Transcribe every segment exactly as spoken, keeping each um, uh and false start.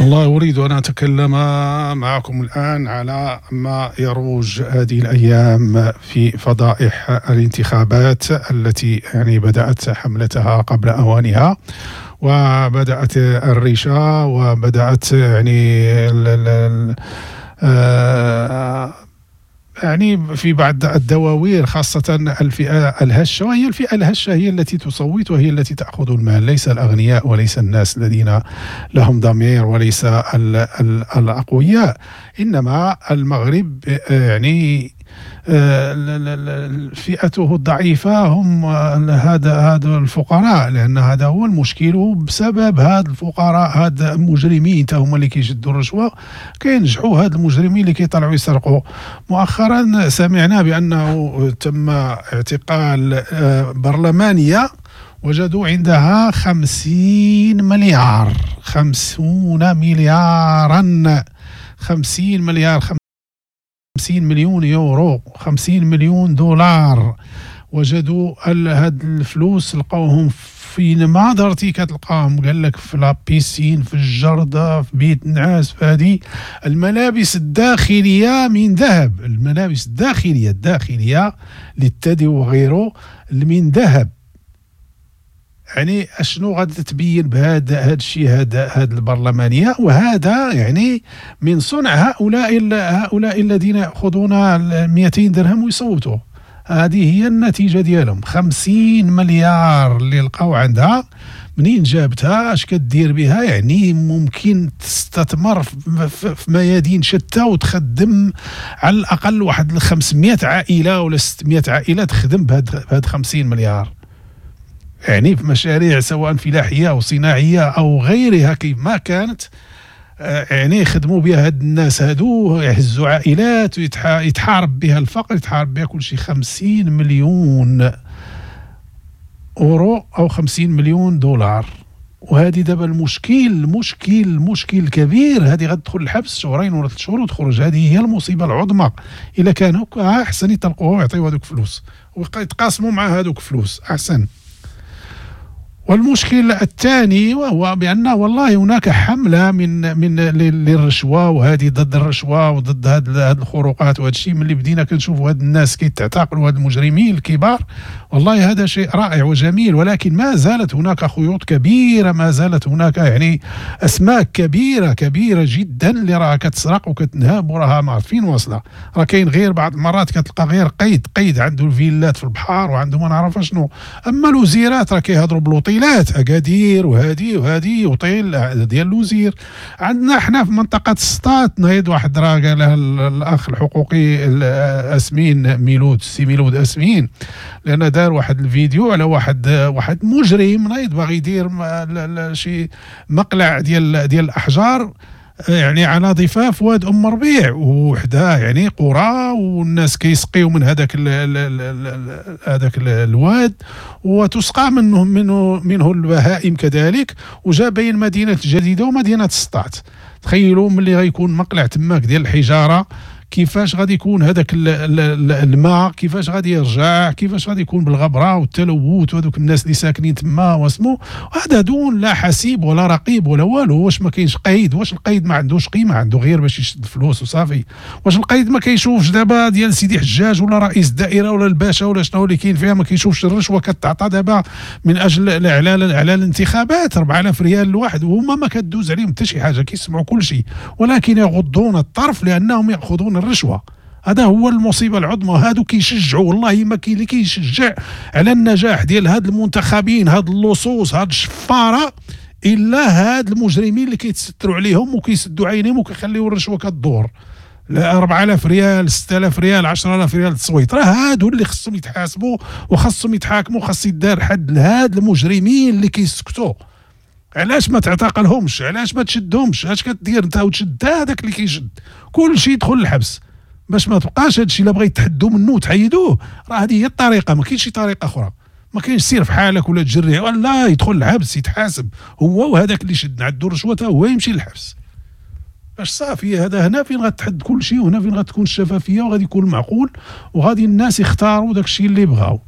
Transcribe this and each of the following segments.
والله أريد أن أتكلم معكم الآن على ما يروج هذه الأيام في فضائح الانتخابات التي يعني بدأت حملتها قبل أوانها، وبدأت الريشة، وبدأت يعني ال ال آه يعني في بعض الدواوير، خاصة الفئة الهشة، وهي الفئة الهشة هي التي تصوت وهي التي تأخذ المال، ليس الأغنياء وليس الناس الذين لهم ضمير وليس ال ال الأقوياء. إنما المغرب يعني فئته الضعيفة هم هذا هذا الفقراء، لأن هذا هو المشكل. بسبب هاد الفقراء، هاد المجرمين هم اللي كيشدوا الرشوة، كينجحوا هاد المجرمين اللي كيطلعوا يسرقوا. مؤخرا سمعنا بأنه تم اعتقال برلمانية وجدوا عندها خمسين مليار، خمسون مليارا، خمسين مليار، خمسين مليون يورو، خمسين مليون دولار. وجدوا هاد الفلوس، لقاوهم فين ما درتي كتلقاهم، قال لك في la piscine، في الجردة، في بيت النعاس، في هذه الملابس الداخلية من ذهب، الملابس الداخلية الداخلية للثدي وغيره من ذهب. يعني اشنو غادي تبين بهذا هذا الشيء، هذا هذا البرلمانية؟ وهذا يعني من صنع هؤلاء هؤلاء الذين ياخذون مئتين درهم ويصوتوا. هذه هي النتيجة ديالهم. خمسين مليار اللي لقاو عندها، منين جابتها؟ اش كدير بها؟ يعني ممكن تستثمر في ميادين شتى وتخدم على الاقل واحد خمسمائة عائلة ولا ستمائة عائلة تخدم بهاد خمسين مليار، يعني في مشاريع سواء فلاحية أو صناعية أو غيرها كيف ما كانت، يعني يخدموا بها هاد الناس هادو، يهزوا عائلات ويتحارب بها الفقر، يتحارب بها كل شيء. خمسين مليون أورو أو خمسين مليون دولار. وهذه دابا المشكل، المشكل المشكل الكبير، هذه غتدخل الحبس شهرين ولا ثلاث شهور وتخرج. هذه هي المصيبة العظمى. إلا كان هكا أحسن يطلقوه ويعطيو هذوك فلوس ويتقاسموا مع هذوك فلوس أحسن. والمشكل الثاني وهو بأن والله هناك حملة من من للرشوة، وهذه ضد الرشوة وضد هذه الخروقات وهذا الشيء. ملي بدينا كنشوفوا هاد الناس كيتعتقلوا، هاد المجرمين الكبار، والله هذا شيء رائع وجميل، ولكن ما زالت هناك خيوط كبيرة، ما زالت هناك يعني أسماك كبيرة كبيرة جدا اللي راها كتسرق وكتنهب وراها ما عرفين واصلة. راه كاين غير بعض المرات كتلقى غير قيد قيد عنده الفيلات في البحر وعنده ما نعرف شنو. أما الوزيرات راه كيهضروا بلوطي اكادير وهادي وهادي وطيل ديال الوزير. عندنا حنا في منطقة السطات نايض واحد راه قالها الاخ الحقوقي اسمين ميلود، سي ميلود اسمين، لان دار واحد الفيديو على واحد واحد مجرم نايض باغي يدير شي مقلع ديال ديال الاحجار يعني على ضفاف واد ام ربيع وحدها، يعني قرى والناس كيسقيو من هذاك هذاك الواد وتسقى منه منه منه البهائم كذلك. وجا بين مدينة الجديدة ومدينة السطات. تخيلوا ملي غيكون مقلع تماك ديال الحجارة، كيفاش غادي يكون هذاك الماء، كيفاش غادي يرجع، كيفاش غادي يكون بالغبره والتلوث وهذوك الناس اللي ساكنين تما واسمو. هذا دون لا حسيب ولا رقيب ولا والو. واش ما كاينش قيد؟ واش القيد ما عندوش قيمة؟ عنده غير باش يشد الفلوس وصافي. واش القيد ما كيشوفش دابا ديال سيدي حجاج ولا رئيس الدائرة ولا الباشا ولا شنو اللي كاين فيها، ما كيشوفش الرشوة كتعطى دابا من اجل على على الانتخابات أربعة آلاف ريال الواحد، وهما ما كدوز عليهم حتى شي حاجة، كيسمعوا كل شيء ولكن يغضون الطرف لانهم ياخذون الرشوة. هذا هو المصيبة العظمى. هادو كيشجعوا، والله ما كاين اللي كيشجع على النجاح ديال هاد المنتخبين، هاد اللصوص، هاد الشفاره، الا هاد المجرمين اللي كيتستروا عليهم وكيسدوا عينيهم وكيخليو الرشوة كدور. أربعة آلاف ريال، ستة آلاف ريال، عشرة آلاف ريال تصويت. راه هادو اللي خصهم يتحاسبوا وخصهم يتحاكموا، خص يدار حد لهاد المجرمين اللي كيسكتوا. علاش ما تعتقلهمش؟ علاش ما تشدهمش؟ اش كدير انت وتشد هذاك اللي كيشد؟ كل شيء يدخل الحبس باش ما تبقاش هادشي. الا بغيت تحدوا منه وتحيدوه راه هذه هي الطريقة، ما كاينش شي طريقه اخرى. ما كاينش سير في حالك ولا تجري، ولا يدخل الحبس يتحاسب هو وهذاك اللي شد عنده الرشوة هو يمشي للحبس باش صافي. هذا هنا فين غتحد كل شيء، وهنا فين غتكون الشفافية وغادي يكون معقول، وغادي الناس يختاروا داك الشيء اللي بغاو.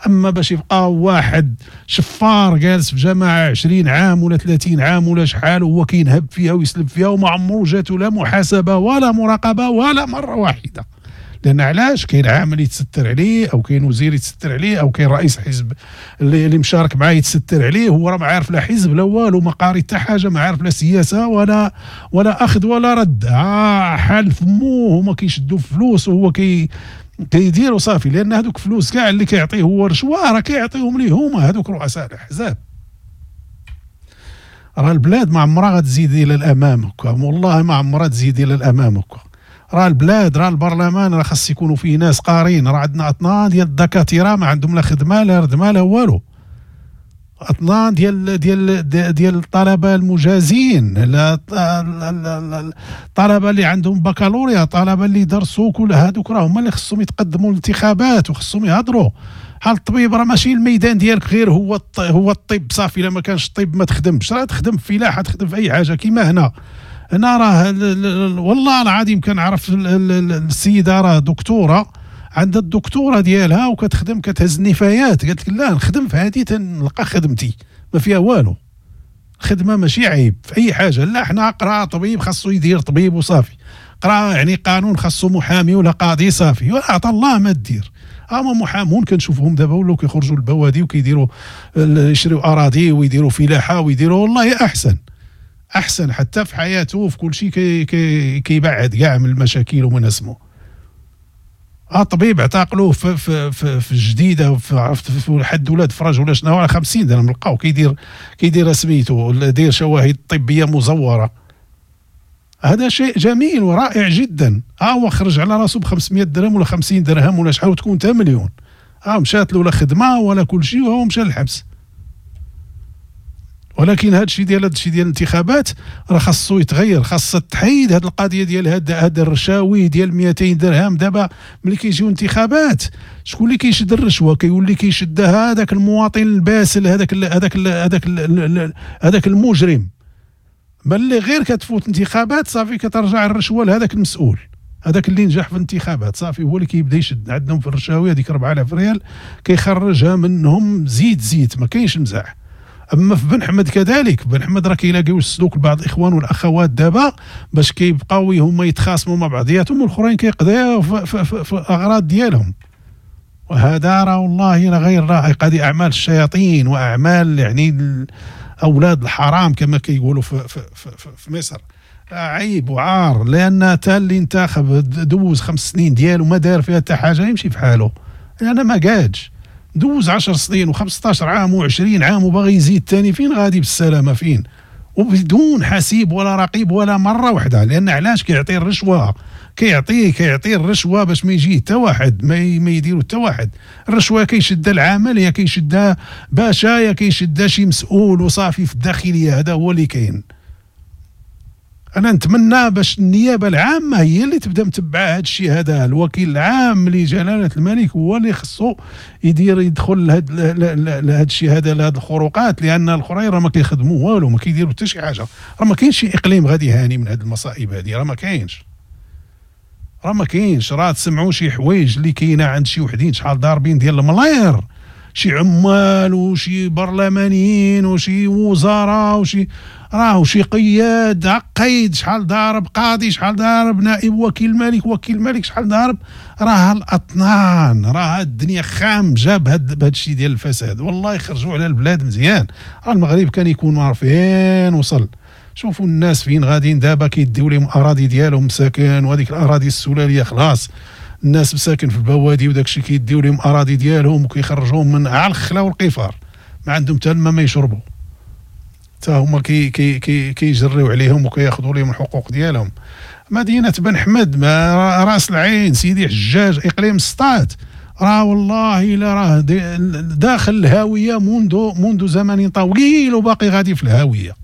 اما باش يبقى واحد شفار جالس في جماعة عشرين عام ولا ثلاثين عام ولا شحال وهو كينهب فيها ويسلب فيها وما عمرو جاتو لا محاسبه ولا مراقبة ولا مرة واحدة. لان علاش؟ كاين عامل يتستر عليه، او كاين وزير يتستر عليه، او كاين رئيس حزب اللي, اللي مشارك معاه يتستر عليه. هو راه ما عارف لا حزب لا والو، ما قاري حتى حاجة، ما عارف لا سياسة ولا ولا اخذ ولا رد. آه حال فمو، هما كيشدوا فلوس وهو كي كيديروا صافي. لان هذوك فلوس كاع اللي كيعطيه هو رشوة راه كيعطيهم ليه هما هذوك رؤساء الاحزاب. راه البلاد ما عمرها غتزيد الى الامام هكا، والله ما عمرها تزيد الى الامام هكا. راه البلاد، راه البرلمان راه خاص يكونوا فيه ناس قارين. راه عندنا اطنان ديال الدكاترة ما عندهم لا خدمة لا ردمه لا والو، اطنان ديال ديال ديال الطلبة المجازين، الطلبة اللي عندهم بكالوريا، الطلبة اللي درسوا، كل هذوك راه هما اللي خصهم يتقدموا للانتخابات وخصهم يهضروا. حال الطبيب راه ماشي الميدان ديالك غير هو هو الطب صافي، الا ما كانش الطب ما تخدمش، راه تخدم في فلاحة، تخدم في اي حاجة. كيما هنا هنا راه والله العظيم كنعرف السيدة راه دكتورة، عندها الدكتورة ديالها وكتخدم كتهز النفايات. قالت لك لا نخدم في هذه تنلقى خدمتي، ما فيها والو، خدمة ماشي عيب في اي حاجة. لا حنا قرا طبيب خاصو يدير طبيب وصافي، قرا يعني قانون خاصو محامي ولا قاضي صافي، ولا عطا الله ما دير. اما محامون كنشوفهم دابا ولاو كيخرجوا البوادي وكيديروا يشريوا اراضي ويديروا فلاحة ويديروا، والله احسن احسن حتى في حياته وفي كل شيء كي كي كيبعد كاع من المشاكل ومن اسمه. الطبيب اعتقلوه في في في, في الجديدة، في عرفت في حد ولاد فرج ولا شنو، على خمسين درهم لقاو كيدير كيدير سميتو داير شواهد طبية مزوره. هذا شيء جميل ورائع جدا. ها هو خرج على راسه ب خمسمية درهم ولا خمسين درهم ولا شحال تكون حتى مليون. ها مشات له لا خدمة ولا كل شيء وهو مشى للحبس. ولكن هذا الشيء ديال هذا الشيء ديال الانتخابات راه خاصو يتغير، خاصها تحيد هذه القضية ديال هاد هاد الرشاوي ديال مئتين درهم. دابا ملي كيجيو انتخابات شكون اللي كيشد الرشوة؟ كيولي كيشد هذاك المواطن الباسل، هذاك هذاك هذاك هذاك المجرم. ملي غير كتفوت انتخابات صافي كترجع الرشوة لهذاك المسؤول، هذاك اللي نجح في الانتخابات صافي هو اللي كيبدا يشد عندهم في الرشاوي. هذيك أربعة آلاف ريال كيخرجها منهم زيت زيت، ما كاينش مزاح. اما في بن حمد كذلك، بن حمد راه كيلاقيو السلوك لبعض الاخوان والاخوات دابا باش كيبقاو هما يتخاصموا مع بعضياتهم والاخرين كيقضيو في, في, في, في الاغراض ديالهم. وهذا راه والله راه غير لائق، هذه اعمال الشياطين واعمال يعني اولاد الحرام كما كيقولوا في, في, في, في مصر. عيب وعار، لان تا اللي انتخب دوز خمس سنين ديالو ما دار فيها حتى حاجة يمشي في حاله، لان ما قادش دوز عشر سنين وخمسطاش عام وعشرين عام وباغي يزيد ثاني، فين غادي بالسلامة؟ فين؟ وبدون حسيب ولا رقيب ولا مرة واحدة. لان علاش كيعطي الرشوة؟ كيعطي كيعطي الرشوة باش ما يجي حتى واحد، ما ما يديرو حتى واحد. الرشوة كيشدها العامل، يا كيشدها باشا، يا كيشدها شي مسؤول وصافي في الداخلية. هذا هو اللي كاين. انا نتمنى باش النيابة العامة هي اللي تبدا متبعة هذا الشيء هذا. الوكيل العام لجلاله الملك هو اللي خصو يدير يدخل لهذا الشيء هذا، لهاد الخروقات، لان الاخرين راه ما كيخدموا والو، ما كيديروا حتى شي حاجة. راه ما كاينش شي اقليم غادي هاني من هاد المصائب هذه، راه ما كاينش، راه ما كاينش. راه تسمعوا شي حوايج اللي كاينه عند شي وحدين شحال ضاربين ديال الملاير، شي عمال وشي برلمانيين وشي وزراء وشي راه شي قياد عقيد شحال ضارب، قاضي شحال ضارب، نائب وكيل الملك، وكيل الملك شحال ضارب. راه الاطنان، راه الدنيا خامجه بهذا الشيء ديال الفساد. والله يخرجوا على البلاد مزيان. راه المغرب كان يكون ما فين وصل. شوفوا الناس فين غاديين دابا، كيديو لهم اراضي ديالهم مساكن، وهذيك الاراضي السلاليه خلاص الناس مساكن في البوادي وداك الشيء، كيديو لهم اراضي ديالهم وكيخرجوهم من على الخلا والقفار، ما عندهم حتى الماء ما يشربوا، حتى هما كي كي كي كيجريو عليهم وكياخذوا لهم الحقوق ديالهم. مدينة بن حمد، راس العين، سيدي حجاج، اقليم سطات، راه والله الا راه داخل الهاوية منذ منذ زمن طويل وباقي غادي في الهاوية.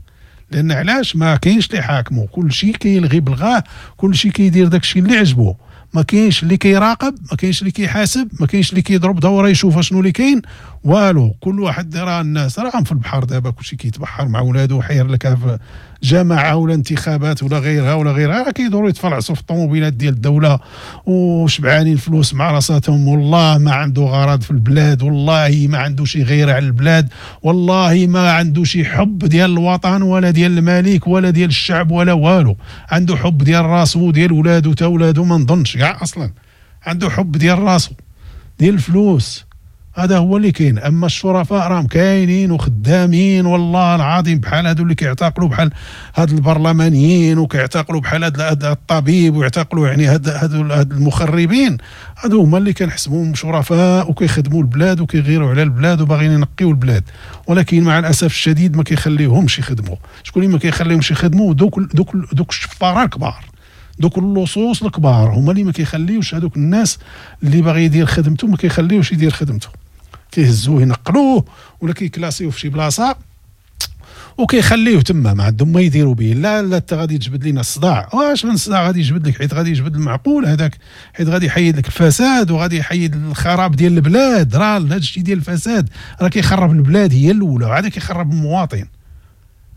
لان علاش؟ ما كاينش اللي حاكمو، كل شيء كيلغي بلغاه، كل شيء كيدير داك الشيء اللي عجبو، ما كاينش اللي كيراقب، ما كاينش اللي كيحاسب، ما كاينش اللي كيضرب دوره يشوف شنو اللي كاين، والو. كل واحد راه الناس راهم في البحر دابا، كلشي كيتبحر مع ولادو، حير لك في جماعة ولا انتخابات ولا غيرها ولا غيرها، كيدوروا يتفلعصوا في الطوموبيلات ديال الدولة وشبعانين فلوس مع راساتهم. والله ما عنده غرض في البلاد، والله ما عنده شي غيره على البلاد، والله ما عنده شي حب ديال الوطن ولا ديال الملك ولا ديال الشعب ولا والو. عنده حب ديال راسو وديال ولادو، تا ولادو ما نظنش كاع اصلا عنده حب ديال راسو ديال الفلوس. هذا هو اللي كاين. اما الشرفاء راهم كاينين وخدامين والله العظيم، بحال هادو اللي كيعتقلوا بحال هاد البرلمانيين، وكيعتقلوا بحال هاد الطبيب، ويعتقلوا يعني هاد هاد المخربين. هادو هما اللي كنحسبوهم شرفاء وكيخدموا البلاد وكيغيروا على البلاد وباغيين ينقيوا البلاد، ولكن مع الاسف الشديد ما كيخليوهمش يخدموا. شكون اللي ما كيخليهمش يخدموا؟ دوك دوك دوك الشفاره الكبار، دوك اللصوص الكبار، هما اللي ما كيخليوش هادوك الناس اللي باغي يدير خدمته ما كيخليوش يدير خدمته، كيهزوه ينقلوه ولا كيكلاسيوه في شي بلاصة وكيخليوه تما، ما عندهم ما يديروا به. لا لا انت غادي تجبد لنا الصداع، واش من الصداع غادي يجبد لك؟ حيت غادي يجبد المعقول هذاك، حيت غادي يحيد لك الفساد وغادي يحيد الخراب ديال البلاد. راه هذا الشيء ديال الفساد راه كيخرب البلاد هي الاولى، وعاد كيخرب المواطن.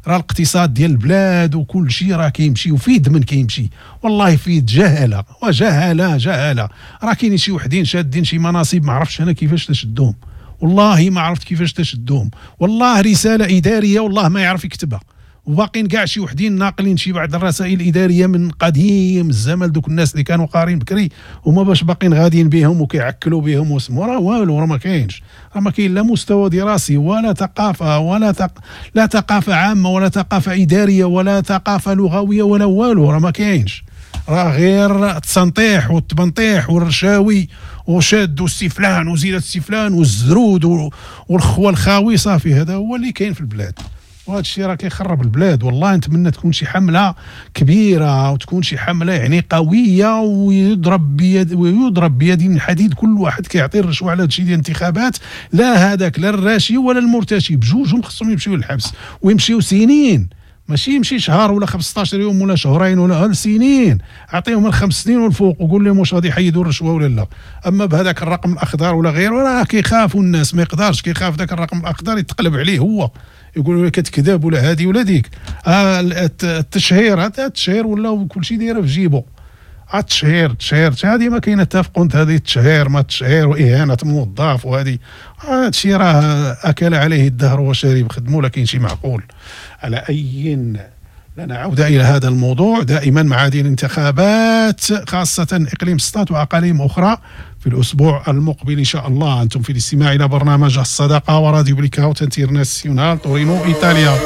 راه الاقتصاد ديال البلاد وكل شيء راه كيمشي وفيد من كيمشي، والله فيد جهله وجهله جهله. راه كاينين شي وحدين شادين شي مناصب ما عرفتش انا كيفاش تشدوهم، والله ما عرفت كيفاش تشدوهم، والله رسالة ادارية والله ما يعرف يكتبها، وباقين كاع شي وحدين ناقلين شي بعض الرسائل الادارية من قديم الزمن، دوك الناس اللي كانوا قارين بكري هما باش باقين غاديين بهم وكيعكلوا بهم واسمو. راه والو، راه ما كاينش، راه ما كاين لا مستوى دراسي ولا ثقافة ولا ثق... لا ثقافة عامة ولا ثقافة ادارية ولا ثقافة لغوية ولا والو، راه ما كاينش. راه غير التسنطيح والتبنطيح والرشاوي وشاد السي فلان وزيد السي فلان والزرود والخوه الخاوي، صافي هذا هو اللي كاين في البلاد. وهذا الشيء راه كيخرب البلاد. والله نتمنى تكون شي حمله كبيرة وتكون شي حمله يعني قوية، ويضرب بيد ويضرب بيد من حديد كل واحد كيعطي الرشوة على هذا الشيء ديال الانتخابات. لا هذاك لا الراشي ولا المرتشي، بجوجهم خصهم يمشيو للحبس ويمشيو سنين، ماشي يمشي شهر ولا خمسطاش يوم ولا شهرين ولا سنين، اعطيهم الخمس سنين والفوق وقول لهم واش غادي يحيدوا الرشوة ولا لا. اما بهذاك الرقم الاخضر ولا غيره راه كيخافوا الناس، ما يقدرش، كيخاف ذاك الرقم الاخضر يتقلب عليه هو، يقولوا لك كتكذب ولا هذه ولا ديك. آه التشهير، هذا التشهير ولا كل شيء دايرة في جيبو. التشهير التشهير هذه ما كاينه اتفقوا انت، هذه التشهير ما التشهير واهانه موظف وهذه، هذا الشيء راه اكل عليه الدهر وشرب، خدموا لكن شي معقول. على اي لنا عوده الى هذا الموضوع دائما مع هذه الانتخابات، خاصة اقليم سطات واقاليم اخرى في الاسبوع المقبل ان شاء الله. انتم في الاستماع الى برنامج الصداقة وراديو بليكاوت انترناسيونال تورينو ايطاليا.